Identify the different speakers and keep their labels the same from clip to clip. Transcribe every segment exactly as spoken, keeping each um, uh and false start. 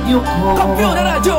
Speaker 1: Radyo ko.
Speaker 2: Kampiyon na radyo!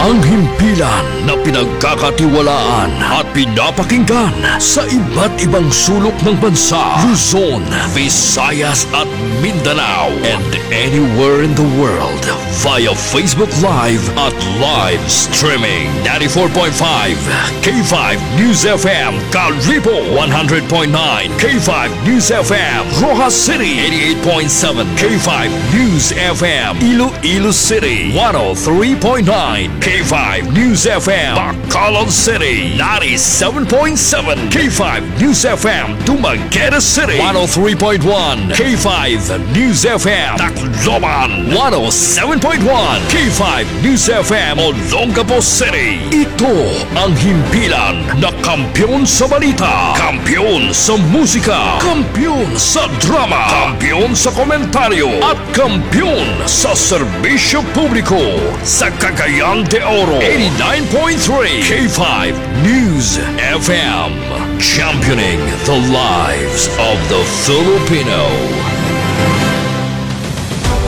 Speaker 3: Ang himpilan na pinagkakatiwalaan at pinapakinggan sa iba't ibang sulok ng bansa: Luzon, Visayas at Mindanao, and anywhere in the world via Facebook Live at live streaming. ninety-four point five K five News F M Kalibo, one hundred point nine K five News F M Roxas City, eighty-eight point seven K five News F M Iloilo City, one oh three point nine K five News F M Bacolod City, ninety-seven point seven K five News F M Dumaguete City, one oh three point one K five News F M Tacloban, one oh seven point one K five News F M Olongapo City. Ito ang himpilan na kampiyon sa balita, kampiyon sa musika, kampiyon sa drama, kampiyon sa komentaryo at kampiyon sa serbisyo publiko sa Cagayan de Oro. eighty-nine point three K five News F M, championing the lives of the Filipino.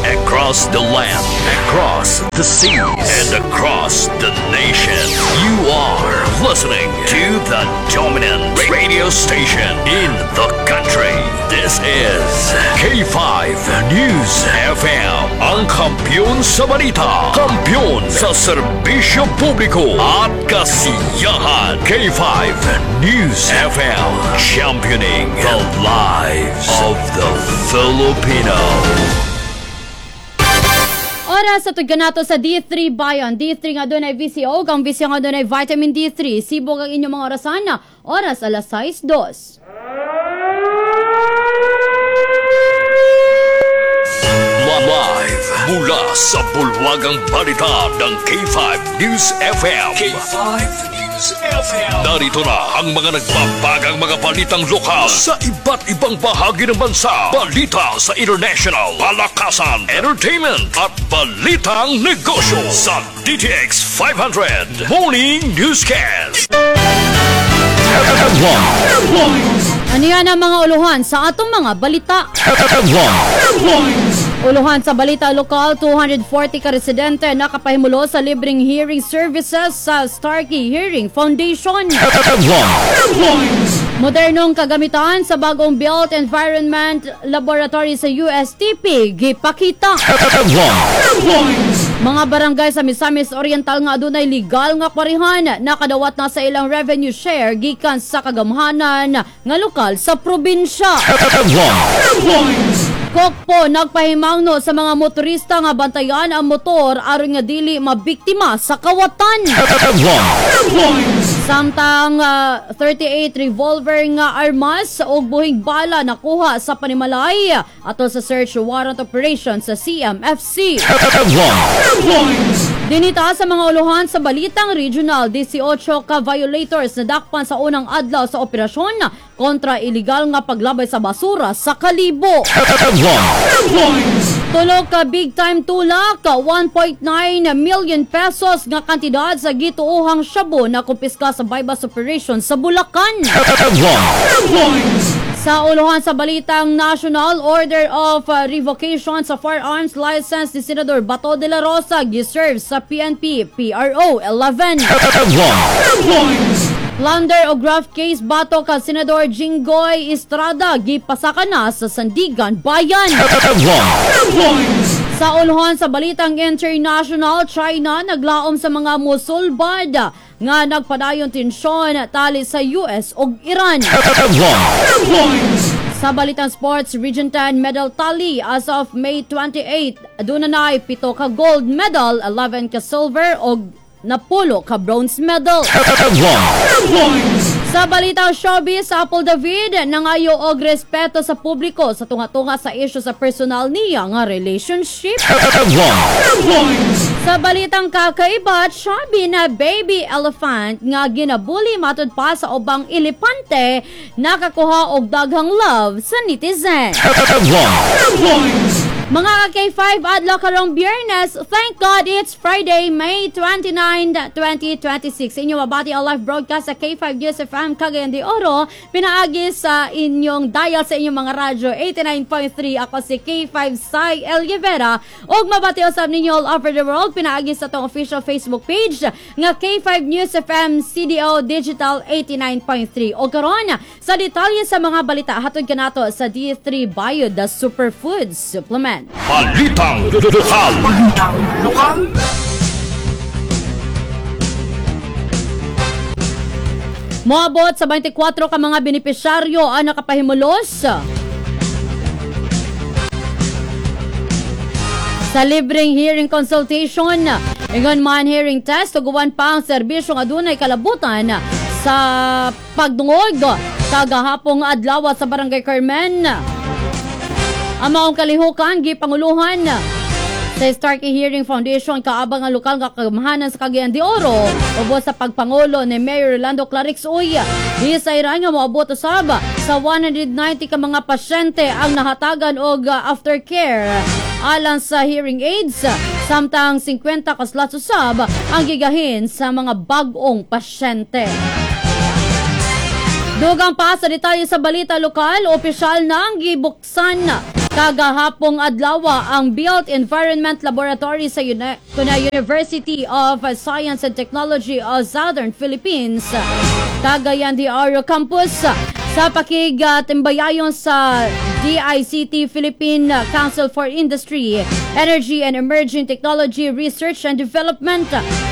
Speaker 3: Across the land, across the seas, and across the nation, you are listening to the dominant radio station in the country. This is K five News F M, ang kampiyon sa balita, kampiyon sa serbisyo publiko at kasiyahan. K five News F M, championing the lives of the Filipino.
Speaker 4: Oras sa nato sa D three Bayan. D three nga dunay V C O, kang V C O nga dunay vitamin D three. Sibog ang inyong mga orasan na oras alas sais dos.
Speaker 3: Live mula sa bulwagang balita ng K five News F M. K five News F M. Narito na ang mga nagbabagang mga balitang lokal sa iba't ibang bahagi ng bansa. Balita sa international, palakasan, entertainment at balitang negosyo sa D T X five hundred Morning Newscast.
Speaker 1: Headlines.
Speaker 4: Ano yan ang mga uluhan sa atong mga balita?
Speaker 1: Headlines.
Speaker 4: Uluhan sa balita lokal, two hundred forty ka residente nakapahimulo sa libreng hearing services sa Starkey Hearing Foundation.
Speaker 1: Headlines.
Speaker 4: Modernong kagamitan sa bagong built environment laboratory sa U S T P gipakita.
Speaker 1: Headlines.
Speaker 4: Mga barangay sa Misamis Oriental nga adunay legal nga kwarihan nakadawat na sa ilang revenue share gikan sa kagamhanan nga lokal sa probinsya.
Speaker 1: Headlines.
Speaker 4: Kokpo nagpahimangno sa mga motorista nga bantayan ang motor aron nga dili mabiktima sa kawatan.
Speaker 1: Headlines.
Speaker 4: Samtang ah, thirty-eight revolver nga armas ug buhing bala nakuha sa panimalay atol sa search warrant operation sa C M F C.
Speaker 1: Headlines.
Speaker 4: Dinita sa mga uluhan sa balitang regional, eighteen ka violators nadakpan sa unang adlaw sa operasyon kontra illegal nga paglabay sa basura sa Kalibo.
Speaker 1: Headlines.
Speaker 4: Tulo ka big time tulak, one point nine million pesos nga kantidad sa gituohang shabu na kumpiska sa buy-bust operation sa Bulacan.
Speaker 1: Headlines.
Speaker 4: Sa uluhan sa balitang national, order of uh, revocation sa firearms license ni Senador Bato de la Rosa giserve sa P N P P R O eleven.
Speaker 1: Headlines.
Speaker 4: Plunder o graft case batok ka Senador Jinggoy Estrada gipasaka na sa Sandiganbayan.
Speaker 1: Headlines.
Speaker 4: Sa uluhan sa balitang international, China naglaom sa mga musulbad nga nagpadayon tensyon tali sa U S ug Iran.
Speaker 1: Headlines.
Speaker 4: Sa balitang sports, Region ten medal tally as of May twenty-eight, aduna na pito ka gold medal, eleven ka silver ug napulo ka bronze medal.
Speaker 1: Headlines.
Speaker 4: Sa balitang showbiz, Apple David nangayo og respeto sa publiko sa tunga-tunga sa isyu sa personal niya nga relationship.
Speaker 1: Headlines.
Speaker 4: Sa balitang kakaiba, chubby na baby elephant nga ginabuli matud pa sa ubang elepante nakakuha og daghang love sa netizen.
Speaker 1: Headlines.
Speaker 4: Mga ka-K five, adlaw karong Biyernes. Thank God it's Friday, May twenty-nine, twenty twenty-six. Inyo mabati ang live broadcast sa K five News F M Cagayan de Oro. Pinaagi sa inyong dial sa inyong mga radyo eighty-nine point three. Ako si K five Sai El Rivera. Ug mabati usab ninyo all over the world pinaagi sa atong official Facebook page nga K five News F M C D O Digital eighty-nine point three. O karon, sa detalye sa mga balita, hatod kanato sa D three Bio, the Superfood Supplement.
Speaker 3: Balitang Lokal.
Speaker 1: Balitang Lokal.
Speaker 4: Moabot sa twenty-four ka mga benepisyaryo ang nakapahimulos sa libreng hearing consultation. Ingon man hearing test, tuguan pa ang serbisyong adunay kalabutan sa pagdungog kagahapong adlaw sa Barangay Carmen. Ang maong kalihukan gipanguluhan sa Starkey Hearing Foundation kaabang ang lokal nga kagamhanan sa Cagayan de Oro ubos sa pagpangulo ni Mayor Rolando Klarex Uy. Gisayran nga moabot usab sa one hundred ninety ka mga pasyente ang nahatagan og aftercare alang sa hearing aids, samtang singkwenta ka slots usab ang gigahin sa mga bag-ong pasyente. Dugang pa sa detalye sa balita lokal, opisyal na ang gibuksan kagahapong adlaw ang Built Environment Laboratory sa Uni- kuna University of Science and Technology of Southern Philippines, Cagayan de Oro Campus, sa pakigtimbayayon sa D I C T Philippine Council for Industry, Energy and Emerging Technology Research and Development.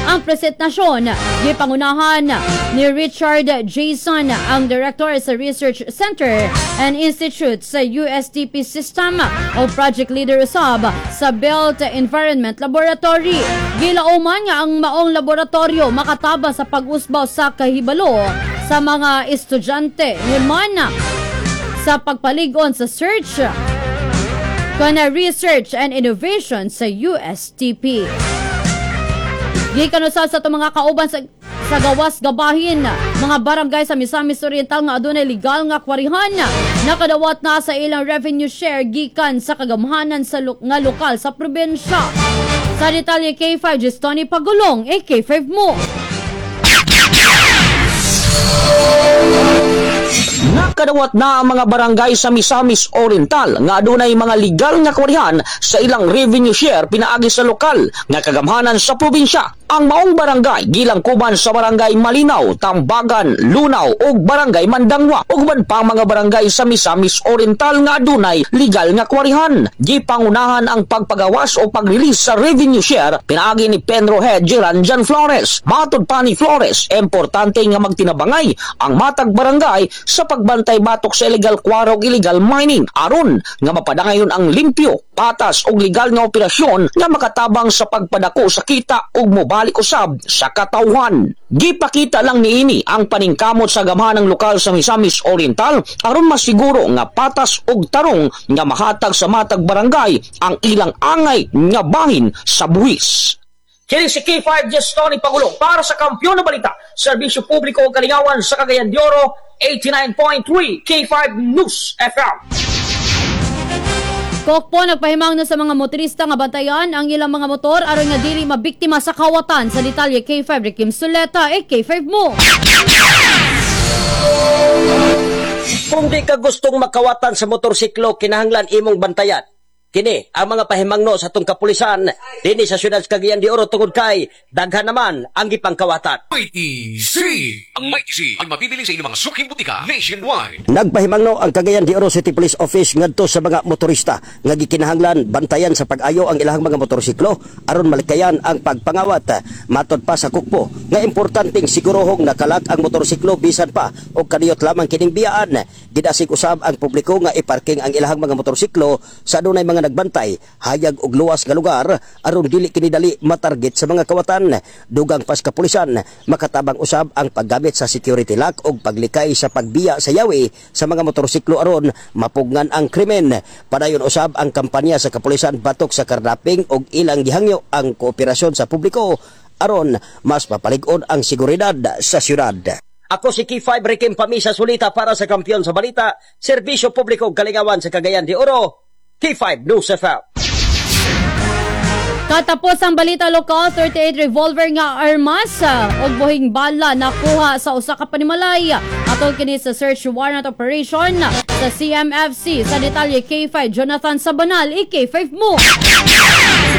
Speaker 4: Ang presentasyon gipangunahan ni Richard Jason, ang Director sa Research Center and Institute sa U S T P System o Project Leader usab sa Built Environment Laboratory. Gilauman nga ang maong laboratorio makataba sa pag-usbaw sa kahibalo sa mga estudyante man sa pagpalig-on sa search kana research and innovation sa U S T P. Gikan usab sa atong mga kauban sa sa gawas gabahin, mga barangay sa Misamis Oriental nga adunay legal nga kwarihan nakadawat na sa ilang revenue share gikan sa kagamhanan sa lo- nga lokal sa probinsya. Sa detalye, K five Gestoni Pagulong, eh K five mo.
Speaker 2: Nakadawat na ang mga barangay sa Misamis Oriental nga adunay mga legal nga kwarihan sa ilang revenue share pinaagi sa lokal nga kagamhanan sa probinsya. Ang maong barangay gilangkuban sa Barangay Malinaw, Tambagan, Lunaw ug Barangay Mandangwa ug uban pang mga barangay sa Misamis Oriental nga adunay legal nga kwarihan. Gipangunahan ang pagpagawas o pag-release sa revenue share pinaagi ni Penro Head Geran Jan Flores. Matod pa ni Flores, importante nga magtinabangay ang matag barangay sa pagbantay batok sa illegal quarry ug illegal mining aron nga mapadangayon ang limpyo, patas ug legal nga operasyon nga makatabang sa pagpadako sa kita ug mobalik usab sa katawhan. Gipakita lang niini ang paningkamot sa gamhanang lokal sa Misamis Oriental aron masiguro nga patas ug tarong nga mahatag sa matag barangay ang ilang angay nga bahin sa buwis. Kini si K five Gestoni Pagulong para sa Kampiyon na Balita, Serbisyo Publiko ug Kalingawan sa Cagayan de Oro, eighty-nine point three K five News F M.
Speaker 4: Kokpo nagpahimang na sa mga motorista nga bantayan ang ilang mga motor aron nga dili mabiktima sa kawatan. Sa detalye, K five Rikim Suleta, eh K five mo.
Speaker 5: Kung di ka gustong makawatan sa motorsiklo, kinahanglan imong bantayan. Kini ang mga pahimangno sa atong kapulisan dinhi sa siyudad sa Cagayan de Oro tungod kay daghan naman ang gipangkawatan.
Speaker 6: Mighty C. Ang Mighty C ay mabibili sa inyong mga suking butika nationwide.
Speaker 5: Nagpahimangno ang Cagayan de Oro City Police Office ngadto sa mga motorista nga gikinahanglan bantayan sa pag-ayo ang ilahang mga motorsiklo aron malikayan ang pagpangawat. Matod pa sa kukpo nga importanteng sigurohong nakalak ang motorsiklo bisan pa og kaniyot lamang kining biyaan. Gidasig usab ang publiko nga iparking ang ilahang mga motorsiklo sa adunay mga nagbantay, hayag og luwas nga lugar aron dili kini dali matarget sa mga kawatan. Dugang pas kapulisan, makatabang usab ang paggamit sa security lock og paglikay sa pagbiya sa yawi sa mga motorsiklo aron mapugngan ang krimen. Padayon usab ang kampanya sa kapulisan batok sa carnapping og ilang gihangyo ang kooperasyon sa publiko aron mas mapalig-on ang seguridad sa syudad. Ako si K five Rikim Pamisa Sulita para sa Kampiyon sa Balita, Serbisyo Publiko ug Kalingawan sa Cagayan de Oro, K five News F M.
Speaker 4: Katapos ang balita lokal, thirty-eight revolver nga armas ah, ug buhing bala nakuha sa usa ka panimalay. Atol kini sa search warrant operation sa C M F C. Sa detalye, K five Jonathan Sabanal, i-K five mo.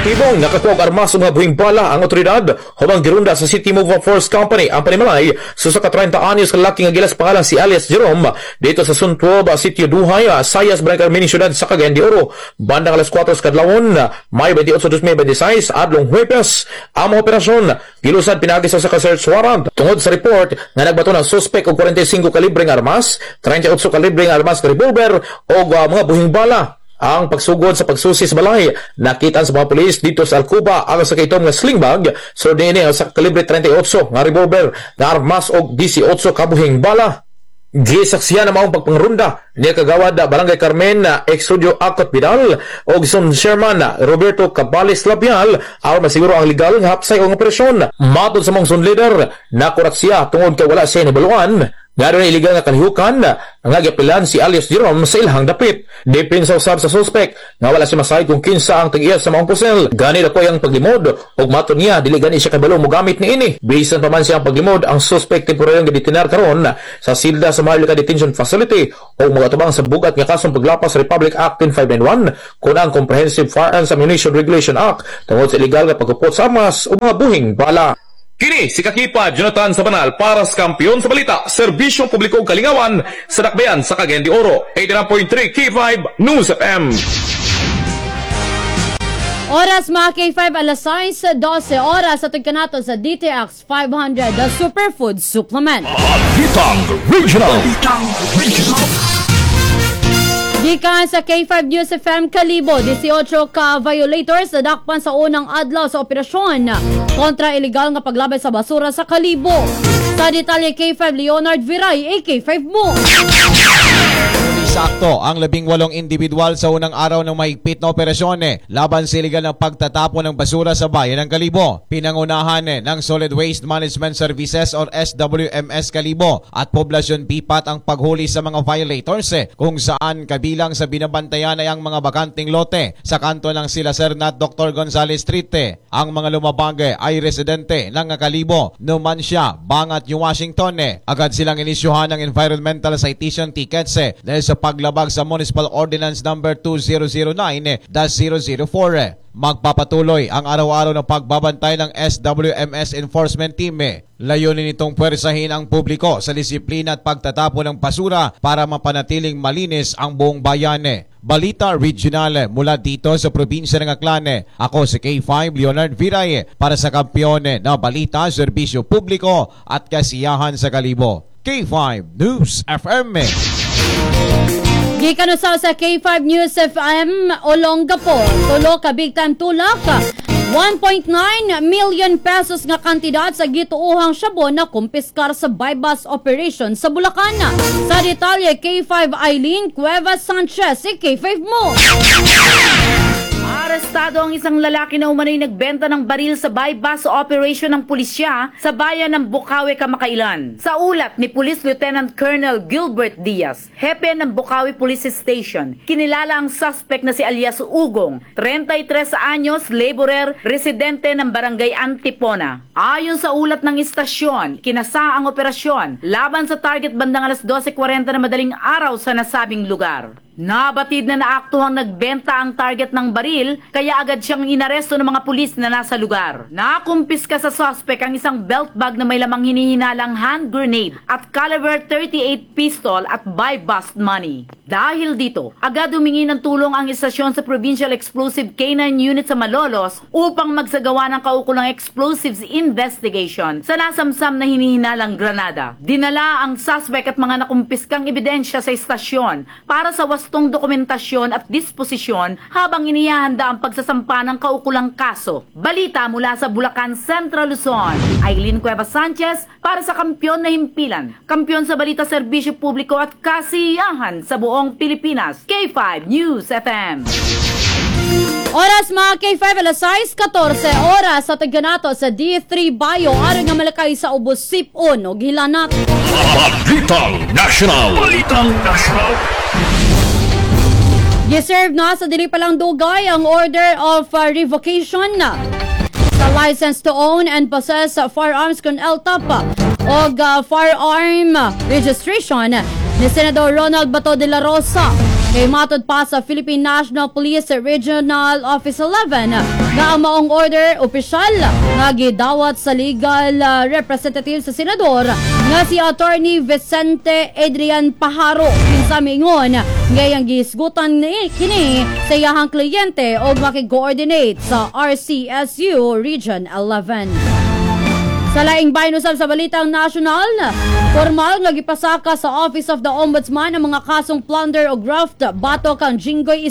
Speaker 7: Positibong nakakuha og armas ug mga buhing bala ang otoridad hubang girunda sa City Move Force Company ang panimalay sa usa ka trenta anyos ka lalaki nga gilas pangalan si alias Jerome dito sa Suntuob, Sitio Duhay, Sayas, Barangay Carmen, Siyudad sa Cagayan de Oro. Bandang alas kuwatro sa kadlawon, Mayo twenty-eight, twenty twenty-six, adlong Huwebes. Ang mga operasyon gilusad pinaagi sa usa ka search warrant tungod sa report nga nagbato ng suspect og kwarenta y singko kalibreng armas, trenta y otso kalibreng armas nga revolver o uh, mga buhing bala. Ang pagsugod sa pagsusi sa balay, nakita sa mga pulis dito sa Alcuba ang sa kaitom nga sling bag, so niini ang sa kalibre trenta y otso nga revolver nga armas og eighteen kabuhing bala. Gisaksihan ang maong pagpangrunda ni kagawad Barangay Carmen Exodio Akot Vidal o Zone Chairman Roberto Cabales Labial aron masiguro ang legal nga hapsay og operasyon. Matod sa mong zone leader, nakurat siya tungod kay wala siya nabaluan nga doon illegal nga kalihukan nga giapilan si alias Jerome sa ilahang dapit. Depensa usab sa suspect nga wala siya masayod kung kinsa ang tag-iya sa maong pusil. Gani dako ang paglimod ug matod niya, dili gani siya kabalo mogamit niini. Bisan pa man siya ang paglimod, ang suspect temporaryong gidetinar karon sa silda sa Maharlika Detention Facility ug mogatubang sa bugat nga kasong paglapas sa Republic Act ten five ninety-one kun ang Comprehensive Firearms Ammunition Regulation Act tungod sa illegal nga pagkupot sa armas ug mga buhing bala. Kini si Kakipa Jonathan Sabanal para sa Kampiyon sa Balita, Serbisyong Publiko ug Kalingawan sa Dakbayan sa Cagayan de Oro, eighty-nine point three K five News F M.
Speaker 4: Oras, mga K five, alas sais dose oras sa kanato sa D T X five hundred, the Superfood Supplement.
Speaker 3: Balitang Regional. Balitang Regional.
Speaker 4: Gikan sa K five News F M Kalibo, eighteen ka violators nadakpan sa unang adlaw sa operasyon kontra ilegal nga paglabay sa basura sa Kalibo. Sa detalye, K five Leonard Viray, A K five mo.
Speaker 8: Sakto ang labing walong individual sa unang araw ng mahigpit na operasyon eh, laban sa illegal na pagtatapon ng basura sa bayan ng Kalibo. Pinangunahan eh, ng Solid Waste Management Services or S W M S Kalibo at Poblasyon Bipat ang paghuli sa mga violators eh, kung saan kabilang sa binabantayan ay ang mga bakanting lote sa kanto ng Sila Serna at Doctor Gonzales Street eh. Ang mga lumabag eh, ay residente ng Kalibo, Numancia, Bangat, New Washington eh. Agad silang inisyuhan ng environmental citation tickets eh, dahil sa paglabag sa Municipal Ordinance Number two thousand nine dash zero zero four. Magpapatuloy ang araw-araw na pagbabantay ng S W M S Enforcement Team eh. Layunin nitong pwersahin ang publiko sa disiplina at pagtatapon ng basura para mapanatiling malinis ang buong bayan eh. Balita Regional mula dito sa probinsya ng Aklan eh. Ako si K five Leonard Viray para sa Kampiyon na Balita, Serbisyo Publiko at Kasiyahan sa Kalibo. K five News F M.
Speaker 4: Gikan usaw sa K five News F M Olongapo, tulo ka big time tulak. one point nine million pesos nga kantidad sa gituohang shabu na kumpiskar sa buy-bust operation sa Bulacan. Sa detalye, K five Eileen Cuevas Sanchez, K five mo.
Speaker 9: Arestado ang isang lalaki na umano'y nagbenta ng baril sa buy-bust operation ng pulisya sa bayan ng Bocaue kamakailan. Sa ulat ni Police Lieutenant Colonel Gilbert Diaz, hepe ng Bocaue Police Station, kinilala ang suspect na si alias Ugong, trenta y tres anyos, laborer, residente ng Barangay Antipona. Ayon sa ulat ng istasyon, kinasa ang operasyon laban sa target bandang alas dose kwarenta na madaling araw sa nasabing lugar. Nabatid na naaktuhang nagbenta ang target ng baril kaya agad siyang inaresto ng mga pulis na nasa lugar. Nakumpiska sa suspect ang isang belt bag na may lamang hinihinalang hand grenade at caliber thirty-eight pistol at buy-bust money. Dahil dito, agad humingi ng tulong ang istasyon sa Provincial Explosive K nine Unit sa Malolos upang magsagawa ng kaukulang explosives investigation sa nasamsam na hinihinalang granada. Dinala ang suspect at mga nakumpiskang ebidensya sa istasyon para sa wastong dokumentasyon at disposisyon habang inihahanda ang pagsasampa ng kaukulang kaso. Balita mula sa Bulacan, Central Luzon, Eileen Cuevas Sanchez para sa Kampiyon na Himpilan. Kampiyon sa Balita, Serbisyo Publiko at Kasiyahan sa buong Pilipinas. K five News F M.
Speaker 4: Oras, mga K five, alas sais katorseh oras sa taganato sa D three Bio aron nga malakay sa ubos, sipon o hilanat.
Speaker 3: Balitang National. Balitang National.
Speaker 4: Giserve na sa dili pa lang dugay ang order of uh, revocation sa license to own and possess firearms kon L T A P o uh, firearm registration ni Senador Ronald Bato de la Rosa. Kay matod pa sa Philippine National Police Regional Office eleven nga ang maong order opisyal nga gidawat sa legal uh, representative sa senador nga si Attorney Vicente Adrian Pajaro, kinsa miingon nga iyang gihisgutan ni kini sa iyahang kliyente og makig-coordinate sa R C S U Region eleven. Sa laing bahin usab sa balitang nasyonal, formal nga gipasaka sa Office of the Ombudsman ang mga kasong plunder o graft batok kang Jinggoy.